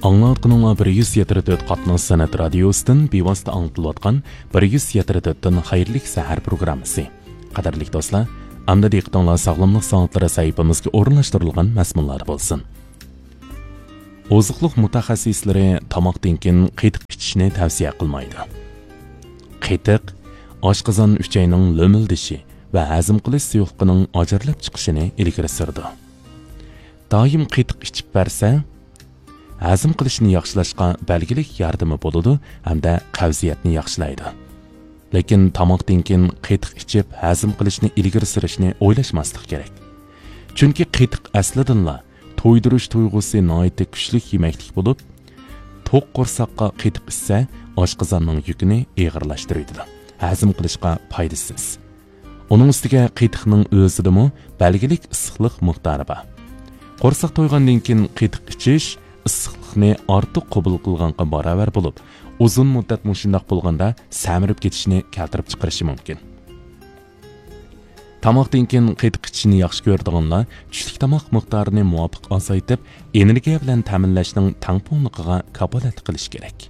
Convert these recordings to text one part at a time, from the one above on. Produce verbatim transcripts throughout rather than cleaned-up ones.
ئاڭلاۋاتقىنىڭلار بىر يۈز يەتتە تۆت قاتناش سەنئەت رادىيوسىدىن بىۋاسىتە ئاڭلىتىلىۋاتقان بىر يۈز يەتتە تۆتتىن خەيرلىك سەھەر پروگراممىسى. قەدىرلىك دوستلار، ئەمدى دىققىتىڭلار ساغلاملىق سائەتلىرى سەھىپىمىزگە ئورۇنلاشتۇرۇلغان مەزمۇنلاردا بولسۇن. ئوزۇقلۇق مۇتەخەسسىسلىرى تاماقتىن كېيىن قېتىق ئىچىشنى تەۋسىيە قىلمايدۇ. قېتىق ئاشقازان ئۈچەينىڭ لۆمۈلدىشى ۋە ھەزىم قىلىش سۇيۇقلۇقىنىڭ ئاجرىلىپ چىقىشىنى ئىلگىرى سۈرىدۇ. دائىم قېتىق ئىچىپ بەرسە، ھەزىم قىلىشنى ياخشىلاشقا بەلگىلىك ياردىمى بولىدۇ ھەمدە قەۋزىيەتنى ياخشىلايدۇ. لېكىن تاماقتىن كېيىن قېتىق ئىچىپ ھەزىم قىلىشنى ئىلگىرى سۈرۈشنى ئويلاشماسلىق كېرەك. چۈنكى قېتىق ئەسلىدىنلا تويدۇرۇش تۇيغۇسى ناھايىتى كۈچلۈك يېمەكلىك بولۇپ، توق قورساققا قېتىق ئىچسە، ئاشقازاننىڭ يۈكىنى ئېغىرلاشتۇرۇۋېتىدۇ. ھەزىم قىلىشقا پايدىسىز. ئۇنىڭ ئۈستىگە قېتىقنىڭ ئۆزىدىمۇ بەلگىلىك ئىسسىقلىق مىقدارى بار. قورساق تويغاندىن كېيىن قېتىق ئىچىش ئىسسىقلىقنى ئارتۇق قوبۇل قىلغانغا باراۋەر بولۇپ، ئۇزۇن مۇددەت مۇشۇنداق بولغاندا سەمرىپ كېتىشنى كەلتۈرۈپ چىقىرىشى مۇمكىن. تاماقتىن كېيىن قېتىق ئىچىشنى ياخشى كۆرىدىغانلار چۈشلۈك تاماق مىقدارىنى مۇۋاپىق ئازايتىپ، ئېنېرگىيە بىلەن تەمىنلەشنىڭ تەڭپۇڭلۇقىغا كاپالەتلىك قىلىشى كېرەك.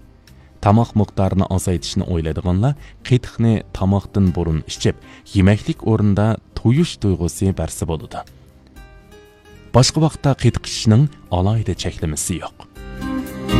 تاماق مىقدارىنى ئازايتىشنى ئويلايدىغانلار قېتىقنى تاماقتىن بۇرۇن ئىچىپ، يېمەكلىك ئورنىدا تويۇش تۇيغۇسى بەرسە بولىدۇ. باشقا ۋاقىتتا قېتىق ئىچىشنىڭ ئالاھىدە چەكلىمىسى يوق.